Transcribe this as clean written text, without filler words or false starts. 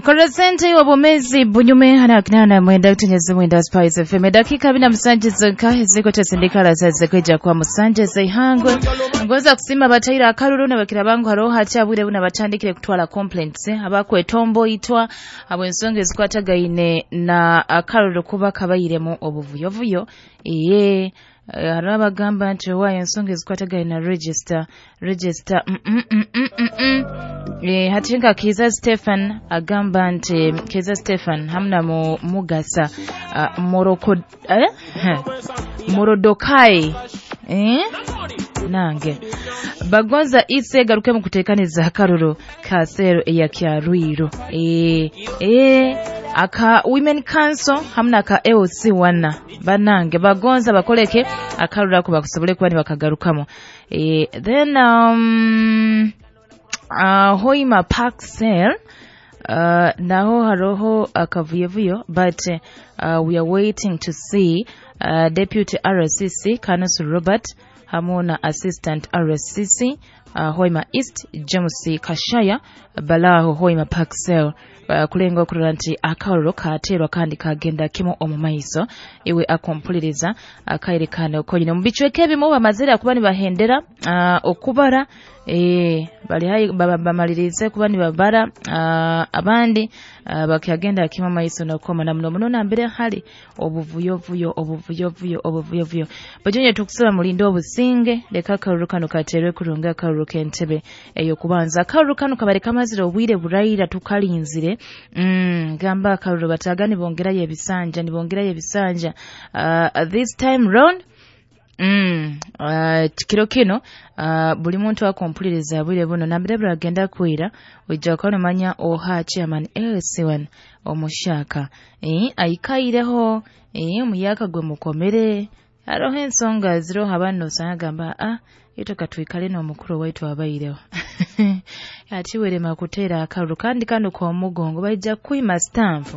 Korosente obumezi bunyume hana kinana mwenda kutenyeza mwenda Spice FM dakika 27 zonka ziko tasindikala zaze kweja kwa musanje zeihangwe ngoza kusima bataira akaruru na bakira bangu haroho hachabwire buna batandikire kutwala complaints abakwetombo itwa abo ensonga ezikwatagaine na akaruru kuba kabayiremu obuvuyovuyo iye hariho abagamba nti owaayo ensonga ezikwatagaine na register hati nka Kiza Stephen agamba nti Kiza Stephen hamna mugasa Moroko Morodokai nange bagonza ise garuke mu kutekaniza akaruru ka sero ya Kyarwiro aka Women Council hamna ka AOC wana banange bagonza bakoleke akaruru ako bakusobole kuba nibakagarukamo. Then Hoima Park Cell naho haroho akavuyevuyo but we are waiting to see Deputy RCC Kanusu Robert hamwe na Assistant RCC Hoima East James Kashaya balaho Hoima Park Cell kulenga okurora nti akaruru katerwa kandi kagenda kimu omu maiso iwe akompuliriza akairekana okonyine mu bicweka ebimu bamazire kuba nibahendera okubara bali hai bamalirize kuba nibabara abandi bakagenda kimu maiso nokoma na muno muno nambere hali obuvuyovuyo bajonye tukusaba mulinde obusinge leka akaruru kano katerwe kurunga akaruru k'entebe eyo kubanza akaruru kano kabare kamazire obwire buraira tukalinzire gamba akaruru bataga nibongerayo ebisanja this time round kiro kino buli muntu akompuliriza bwire buno nambere buragenda kwira ojja kuba oha chairman LC1 omushaka aikaireho omuyaka gwe mukomere haroho ensonga ziroho abana osanga gamba itoka tuikale n'omukuru waitu abaireho ati werema kuteera akaruru kandi kano k'omugongo baija kwima stamp.